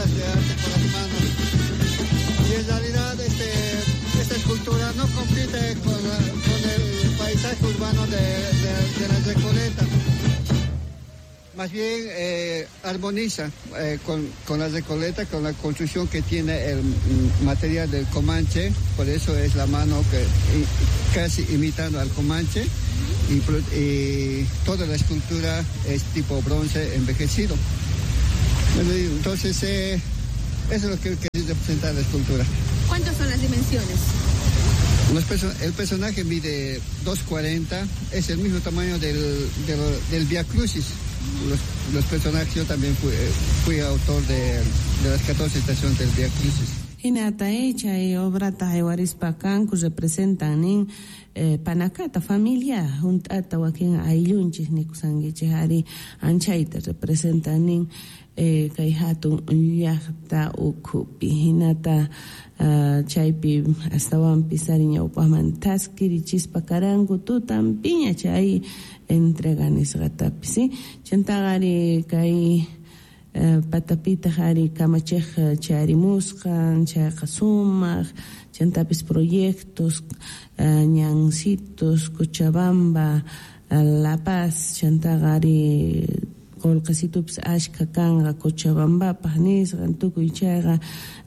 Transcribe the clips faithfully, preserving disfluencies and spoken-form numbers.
obras de arte con las manos. Y en realidad este, esta escultura no compite con, la, con el paisaje urbano de, de, de la Recoleta. Más bien eh, armoniza eh, con, con la Recoleta, con la construcción que tiene el material del Comanche, por eso es la mano que y, casi imitando al Comanche, y, y toda la escultura es tipo bronce envejecido. Bueno, entonces, eh, eso es lo que quería representar la escultura. ¿Cuántas son las dimensiones? Los perso el personaje mide dos cuarenta, es el mismo tamaño del, del, del Via Crucis. Los, los personajes, yo también fui, fui autor de, de las catorce estaciones del Via Crucis. Hinata chay obrata haywarispa kanku representan nin eh, panakata familia junt'ata wakin ayllunchis nikusankichik ari anchayta representan nin eh, kay hatun llaqta ukhupi hinata uh, chaypi astawanpis ari ñawpaqman taskirichispa karanku tutanpiña chay entrega nisqatapis, ¿sí? Chantaqa ari kay Uh, patapitaq ari kamachiq charimusqan chayqa sumaq chantapis proyectos uh, ñancitos Cochabamba uh, La Paz chantaqa ari qullqisitupis ashka kanqa Cochabambapaq nisqan tukuy chayqa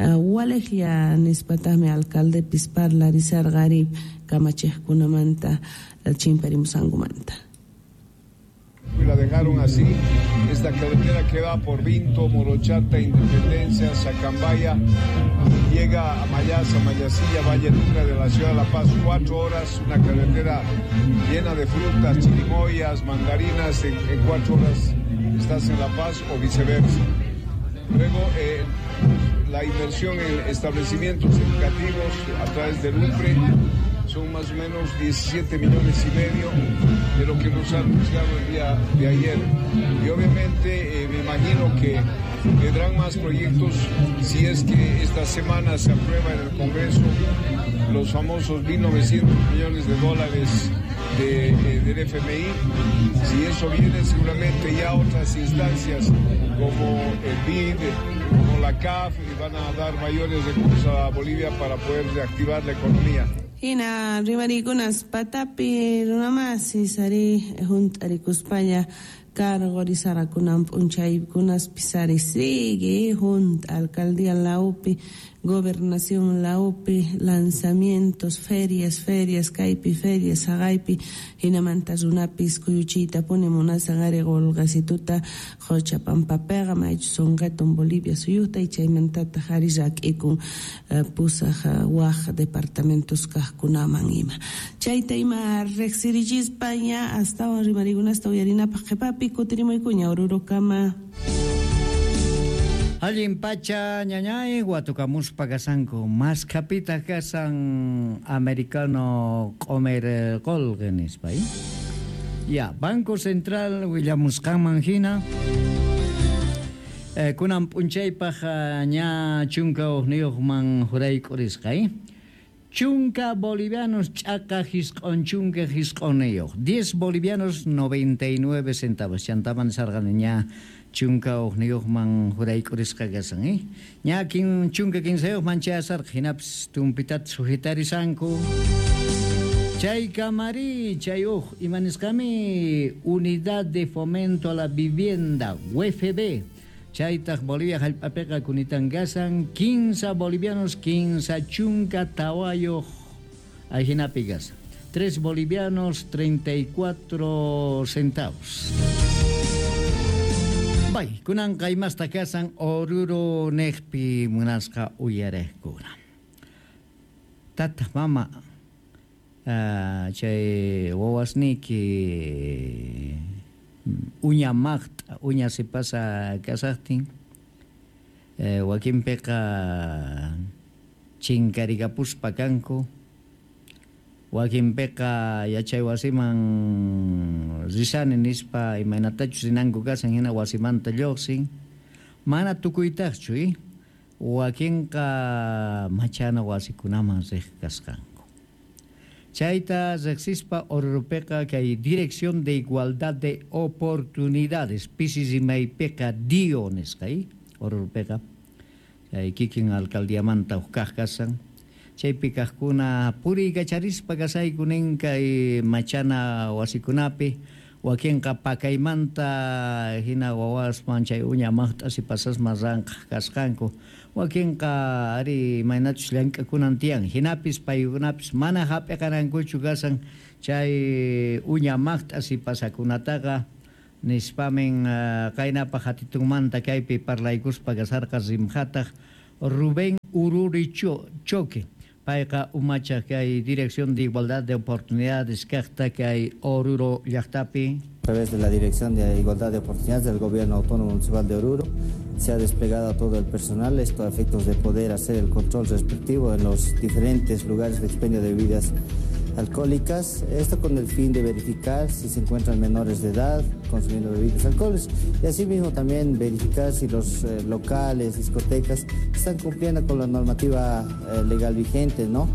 uh, waliqlla nispataqmi alcaldepis parlarisarqa ari kamachiqkunamanta chimparimusqankumanta. Y la dejaron así, esta carretera que va por Vinto, Morochata, Independencia, Sacambaya, llega a Mayasa, Mayasilla, Valle Luna de la ciudad de La Paz, cuatro horas, una carretera llena de frutas, chirimoyas, mandarinas, en, en cuatro horas estás en La Paz o viceversa. Luego, eh, la inversión en establecimientos educativos a través del U P R E, son más o menos diecisiete millones y medio de lo que nos han anunciado el día de ayer. Y obviamente eh, me imagino que vendrán más proyectos si es que esta semana se aprueba en el Congreso los famosos mil novecientos millones de dólares de, eh, del F M I. Si eso viene, seguramente ya otras instancias como el B I D, como la C A F, van a dar mayores recursos a Bolivia para poder reactivar la economía. Hina rimarikunas patapi runamasis ari junt'arikuspaña cargorisarakunan p'unchaykunaspis ari sigue junt alcaldía laupi gobernación laupi lanzamientos ferias ferias kaypi ferias haqaypi hinamanta runapis kuyuchiyta puni munasan ari qulqasituta Qochapampapiqa maychus sunqatun Bolivia suyuta y chaymantataq ari rak'ikun pusaq waq departamentos kaqkunaman ima chayta ima riqsirichispa ña astawan rimarikunasta uyarinapaq qhipapi kutirimuykuña Orurokama. Allin pacha ñañay watukamuspa kasanku maskapita kasan americano q'umir qolqe nispa. Ya, Banco Central willamusqanman hina eh, kunan p'unchaypaq ña chunka hukniyuqman jurayk'urisqa. Chunka bolivianos ch'aqa jisq'on chunka jisq'onniyuq diez bolivianos noventa y nueve centavos chantaman sarqani ña chunka hukniyuqman jurayk'urisqa kasan, eh? Ña kin chunka kinsayuqman chayasarqa hinapis tumpitata sujitarisanku chay kamari chay uj imanisqami Unidad de Fomento a la Vivienda U F B chaytaq Bolivia hallp'apiqa kunitan kasan quince bolivianos quince chunka tawayuq ahinapi kasan tres bolivianos treinta y cuatro centavos. Bay, kunan qaymasta kasan Oruro neqpi munasqa uyariqkuna. Tata, mama, uh, chay wawasniyki uña maqt'a, uña sipasa kasaqtin, eh, wakinpiqa chinkarikapuspa kanku, wakinpiqa yachay wasiman risani nispa imaynatachus rinanku kasan hina wasimanta lluqsin, mana tukuytaqchu, eh? Wakinqa machana wasikunaman riq kasqanku. Chayta riqsispa Oruropiqa kay Dirección de Igualdad de Oportunidades pisi rimaypiqa D I O nisqa, eh? Oruropiqa Kikin alcaldiamanta huk kasan chaypi kaqkuna puriykacharispa kasayku nin kay machana wasikunapi wakinqa pakaymanta hina wawasman chay uña maqt'asi pasasman ranqaq kasqanku wakinqa ari imaynachus llank'akunan tiyan hinapis paykunapis mana hap'iqarankuchu kasan chay uña maqt'asi pasakunataqa nispamin qaynapaq hatitunmanta kaypi parlaykuspa kasarqa rimhataq Rubén Ururi Choque payqa umacha kay Dirección de Igualdad de Oportunidades kaqta kay Oruro llaqtapi. A través de la Dirección de Igualdad de Oportunidades del Gobierno Autónomo Municipal de Oruro se ha desplegado a todo el personal, esto a efectos de poder hacer el control respectivo en los diferentes lugares de expendio de bebidas alcohólicas, esto con el fin de verificar si se encuentran menores de edad consumiendo bebidas alcohólicas y asimismo también verificar si los eh, locales, discotecas están cumpliendo con la normativa eh, legal vigente, ¿no?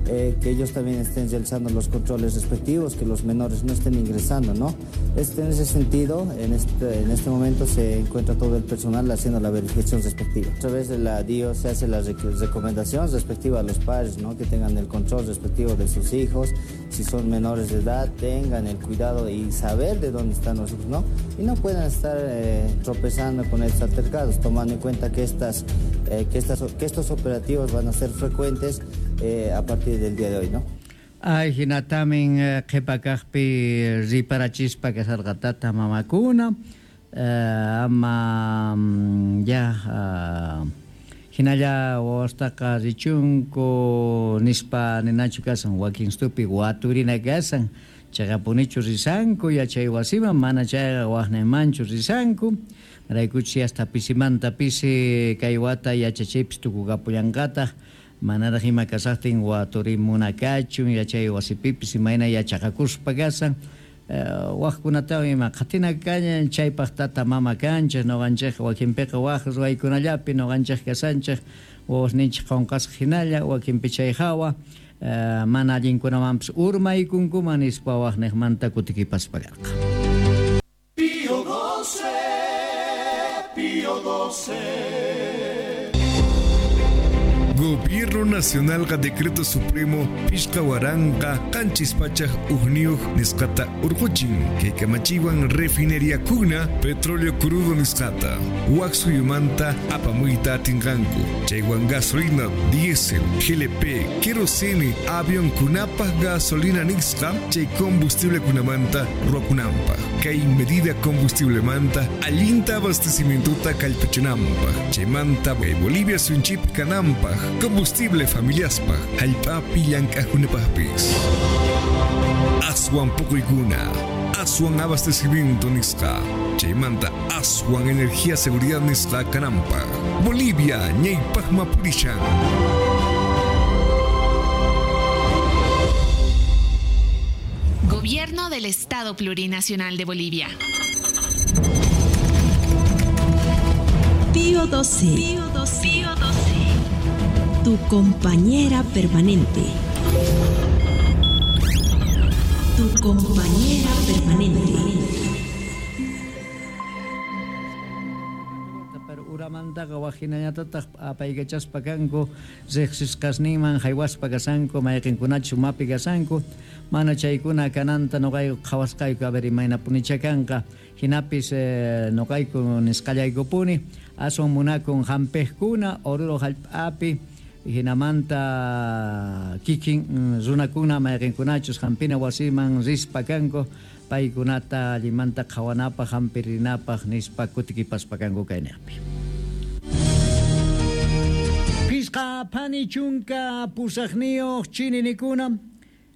Eh, que ellos también estén realizando los controles respectivos, que los menores no estén ingresando, ¿no? Este, en ese sentido, en este, en este momento se encuentra todo el personal haciendo la verificación respectiva. A través de la D I O se hace la recomendación respectiva a los padres, ¿no? Que tengan el control respectivo de sus hijos, si son menores de edad, tengan el cuidado y saber de dónde están los hijos, ¿no? Y no puedan estar eh, tropezando con estos altercados, tomando en cuenta que, estas, eh, que, estas, que estos operativos van a ser frecuentes eh, a partir del día de hoy, ¿no? Ay, hinatamin qhipakaqpi riparachispa kasarqa tata mamakuna eh, ama ya uh, hinalla wawastaqa richunku nispa ninachu kasan wakin stupi waturina kasan chaqapunichu risanku yachay wasiman mana chayqa waqnaymanchu risanku raykuchi hasta pisimanta pisi kay wata yachachaypis tukukapullanqataq manaraq ima kasaqtin waturimunakachun yachay wasipipis imayna yachaqakuspa kasan waqkunatawan ima qatina kañan chaypaq tata mama kanchik nuqanchik wakinpiqa waq ruwaykunallapi nuqanchik kasanchik wawasninchik qunqasqa hinalla wakinpi chay hawa mana allinkunamanpis urmaykunkuman nispa waqniqmanta kutikipaspa karqa. Pío doce, Pío doce. Gobierno Nacional ga Decreto Supremo Pishka Waranqa Qanchis Pachaj Ujniuj nisqata urquchin kay kamachiwan refinería kuna petróleo crudo nisqata wak suyumanta apamuyta atinqanku chaywan gasolina diésel G L P kerosene avión kunapaj gasolina nisqa chay combustible kunamanta ruwakunanpaj kay medida combustible manta allinta abastecimientuta kallpachinanpaj chaymanta Bolivia sunchip kananpaj combustible familiaspaj hallp'api llank'ajkunapajpis aswan puquykuna aswan abastecimiento nisqa chaymanta aswan energía seguridad nisqa kananpaj Bolivia ñaypaqma purishan. Gobierno del Estado Plurinacional de Bolivia. Pío doce. Pío doce. Pío doce. Tu compañera permanente. Tu compañera permanente. Pero uramantaqa wajinañatataq apaykachaspa kanku riqsisqasninman haywaspa kasanku mayqinkunachu mapi kasanku mana chaykuna kananta nuqayku qhawasqayku a ver imaynapunicha kanqa hinapis eh, nuqayku nisqallaykupuni aswan munakun hampiqkuna Oruro hallp'api hinamanta kikin runakuna mayqinkunachus hampina wasiman rispa kanku paykunata allimanta qhawanapaq hampirinapaq nispa kutikipaspa kanku kayniqpi. Pisqa phani chunka pusaqniyuq chininikuna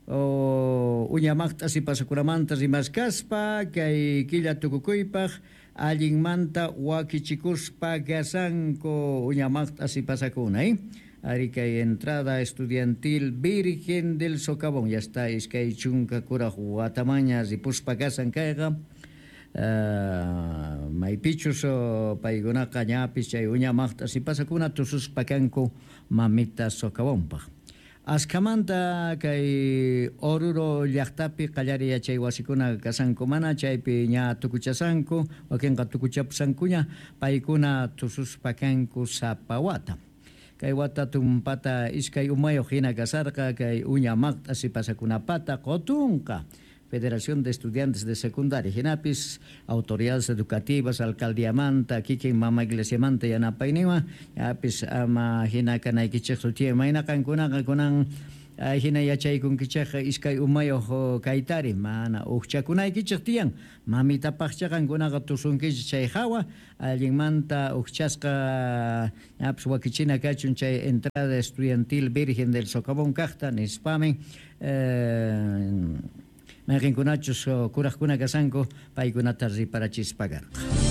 o uñamaqta sipasakunamanta rimaskaspa kay killa tukukuypaq allinmanta wakichikuspa kasanku uñamaqta sipasakuna eh? Ari kay entrada estudiantil Virgen del Socavón ya está iskay chunka kuraj watamaña ripuspa kasan kayqa uh, maypichus paykunaqa ñapis chay uñamaqta sipasakuna tususpa kanku mamita Socavónpaq. Askamanta kay Oruro llaqtapi qallari yachay wasikuna kasanku mana chaypi ña tukuchasanku wakinqa tukuchapusankuña paykuna tususpa kanku sapa wata. Kay wata tumpata iskay umayuq hina kasarqa kay uña maqt'a sipasakunapata qutunqa Federación de Estudiantes de Secundaria hinapis autoridades educativas alcaldiamanta kikin mama iglesiamanta yanapayninwan yapis ama hina kanaykichikchu tiyan mayna qankunaqa kunan hina yachaykunkichikqa iskay umayuq kaytari mana uqchakunaykichik tiyan mamitapaqcha qankunaqa tusunkichik chay hawa allinmanta uqchasqa ñapis wakichina kachun chay entrada estudiantil Virgen del Socavón kaqta nispamin eh, mayqinkunachus kuraqkuna kasanku paykunata riparachispa karqa.